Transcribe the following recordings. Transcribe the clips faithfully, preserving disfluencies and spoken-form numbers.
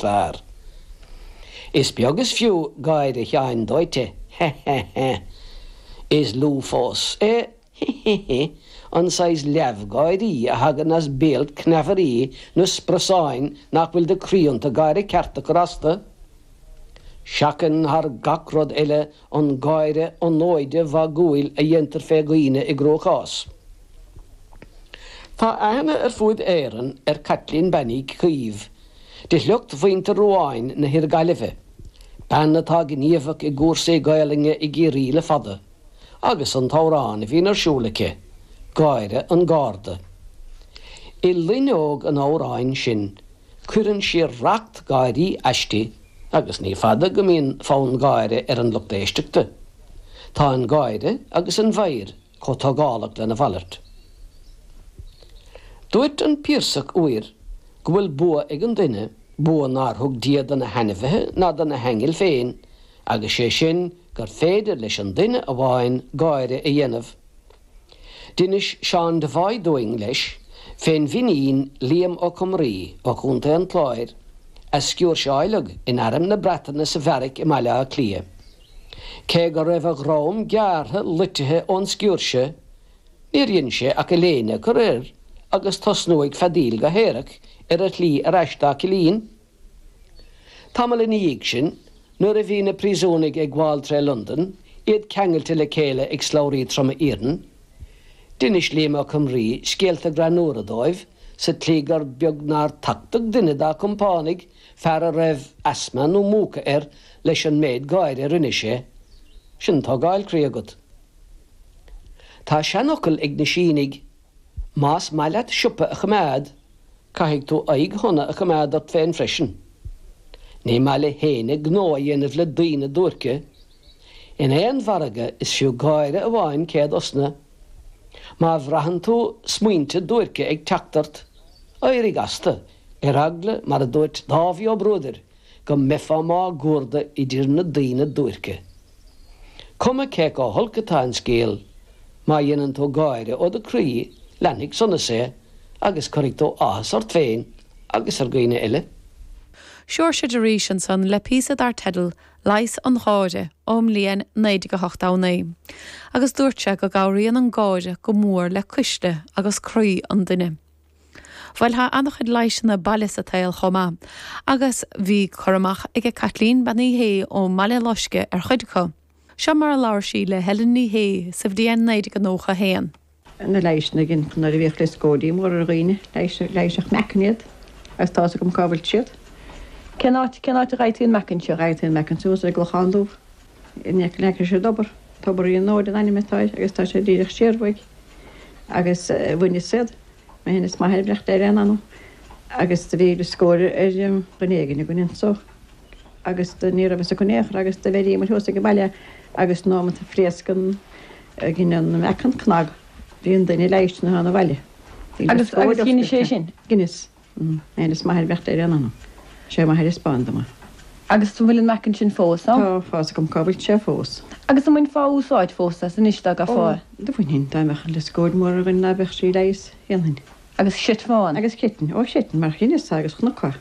fearr. Is beag is fiú gáire Sheáin Dóite, he he he. Is lú fós é, he he he, an saghas leamhgháirí a thagann as béal cneamhairí nó sprosáin nach bhfuil de chroí iontu gáire ceart a chur astu. Seachain thar gach rud eile an gáire onóide mhagúil a dhéantar fé dhaoine i gcruachás. Tá aithne ar fuaid Éireann ar Caitlín Bean Uí Chaoimh, de shliocht mhuintir Ruáin na hIarghaillimhe, bean atá gníomhach i gcúrsaí Gaelainne i gCiarraí le fada, agus an t-amhrán a bhíonn ar siúl aici, Gáire an Gharda. I loinneog an amhráin sin, cuireann sí racht gáirí aisti agus ní fada go mbíonn fonn gáire ar an lucht éisteachta. Tá an gáire agus an mheidhir chomh tógálach lena mhalairt. Dúirt an Piarsach uair go bhfuil bua ag an duine, bua nár thug Dia do na hainmhithe ná do na haingil féin, agus sé sin gur féidir leis an duine amháin gáire a dhéanamh. D'inis Seán Devoy dúinn, leis, fén bhFinín Liam Ó Comraí ó Chontae an Chláir, a sciúrseáileadh in Arm na Breataine sa bheairic i mBaile Átha Cliath. Cé go raibh a dhroim gearrtha loitithe ón sciúirse, níor dhein sé ach a léine a chur air agus tosnú ag feadaíl go haerach ar a shlí ar ais dá chillín. Tamall ina dhiaidh sin, nuair a bhí na príosúnaigh ag gabháil tré Londain, iad ceangailte le chéile ag slabhraí troma iarainn, d'inis Liam Ó Comraí scéalta greannúra dóibh sa tslí gur beag nár tachtadh duine dá chompánaigh, fear a raibh asma nó múchadh air, leis an méid gáire a rinne sé. Sin tógáil croí agat. Tá seanfhocal ag na Sínigh, Más maith leat siopa a choimeád, caithfidh tú aghaidh shona a choimeád ort féin freisin. Ní maith le héinne gnó a dhéanamh le daoine duairce. In aon mhargadh is fiú gáire amháin céad osna. Má bhraitheann tú smaointe duairce ag teacht ort, éirigh astu, ar eagla, mar a dúirt Dáibhí Ó Bruadair, go mbeifeá máguaird idir na daoine duairce. Cuma cé chomh holc atá an scéal, má dhéanann tú gáire ó do chroí, leanfaidh sonas é agus cuirfidh tú áthas ort féin agus ar dhaoine eile. Seoirse de Rís ansan le píosa dar teideal 'Leigheas an Gháire' ón mbliain naoi déag a hocht a naoi, agus dúirt sé go gcabhraíonn an gáire go mór le cuisle agus croí an duine. Bhuel tá an-chuid leigheasanna baile sa tsaol chomh maith, agus bhí cur amach aige Caitlín Bean Uí Shé ón mBaile Loiscthe ar chuid acu. Seo mar a labhair sí le Helen Ní Shé sa bhliain naoi déag nócha a haon. Na leighiseanna gin nuair a bhíodh lioscóidí móra ar dhaoine, leighiseadh meacan iad agus tá's agam cá bhfuil siad. Cén áit, cén áit a bhfaighfí an meacan seo? Fhaightí an meacan suas ar an gClochán Dubh. In aice leis an dtobar. Tobar Uí Fhionnghail an ainm atá air agus tá sé díreach siar uaidh. Agus bhaineas iad, mé féin is m'athair ag breith ar aon anam agus do bhí lioscóid ar dhuine éigin againn anso agus do ní raibh fhios acu in aon chor agus do bheiríomar thuas ag an baile agus nóimeat a phléasc an ghin an meacan cnag bhí an duine leighiste 'na bhaile. Bhí Agus lioscóid agus dheinis sé oscailte. sin? Dheineas. Mé féin is m'athair ag breith ar aon anam. Sé m'athair a 'speáin dom é. Agus an bhfuil an meacan sin fós ann? Tá, tá's agam cá bhfuil sé fós. Agus an mbainfeá úsáid fós as anois dá Ó, gcaithfeá é? do bhainfinn, dá mbeadh an lioscóid mór ar dhuine ná beadh sí a leigheas, dhéanfainn. Agus chreidfeá ann? Agus chreidfinn, ó chreidfinn, mar dheineas é agus chonac é.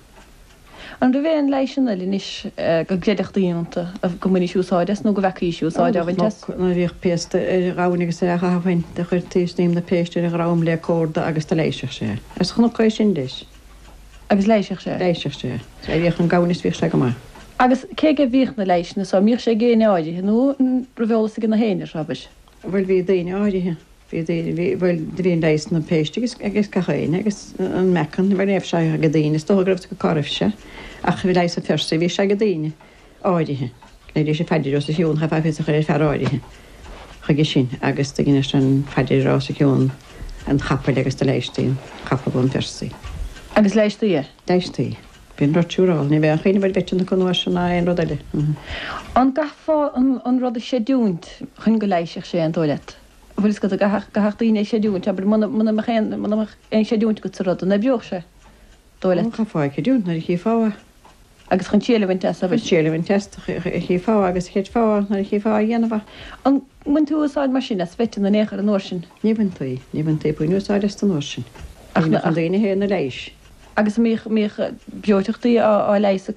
An raibh aon leigheasanna eile anois go gcreidfeadh daoine iontu, go mbainfís úsáid as nó go bhfeacaís úsáid á bhaint as? Nuair a bhíodh péasta ar ghamhain agus é á chaitheamh féin, do chuirtí snaidhm na péiste ar a dhrom le córda agus do leighiseadh sé é. Agus chonac é sin leis. Agus leighiseadh sé é? Leighiseadh sé é. Sea, bhíodh an gamhain is bhíodh sé go maith. Agus cé aige a bhíodh na leighiseanna so? An mbíodh sé ag éinne áirithe nó an raibh eolas ag na héinne, abair? Bhuel, bhí daoine áirithe. Bhí daoine, bhí, bhuel, do bhí an leigheas na péiste agus, agus gach éinne agus an meacan, bhuel, ní raibh sé ag daoine, is dócha go raibh cá raibh sé, ach bhí leigheas an phiarsaigh, bhí sé ag daoine áirithe. Léiríodh sé phaidir os a chionn, chaithfeá fios a chur ar fear áirithe chuige sin agus do dheineadh sé an phaidir os a chionn an chapaill agus do leighistí an capall ón phiarsaigh. Agus leighistí é? Leighistí. Bhí an rud siúráilte, ní bheadh aon chuimhneamh ar mheiteanna acu an uair sin ná aon rud eile. An gcaithfeá an, an rud a chreidiúint chun go leighisfeadh sé an dóigh leat? An bhfuil fhios agat, an gcaithfeadh, gcaithfeadh daoine é a chreidiúint, abair, muna, muna mbeadh aon, muna mbeadh aon chreidiúint agat sa rud, an oibreodh sé, dóigh leat? Chaithfeá é a chreidiúint nuair a chífeá é. Agus chun triail a bhaint as, abair. Chun triail a bhaint as, chífeá agus chreidfeá nuair a chífeá á dhéanamh é. An mbain tú úsáid mar sin as mheiteanna in aon chor an uair sin? Ní bhaintí, ní bhaintí puinn úsáid astu an uair sin. Ach Bhí na, na daoine féin na leighis. Agus mbíodh mbíodh breoiteachtaí á leigheas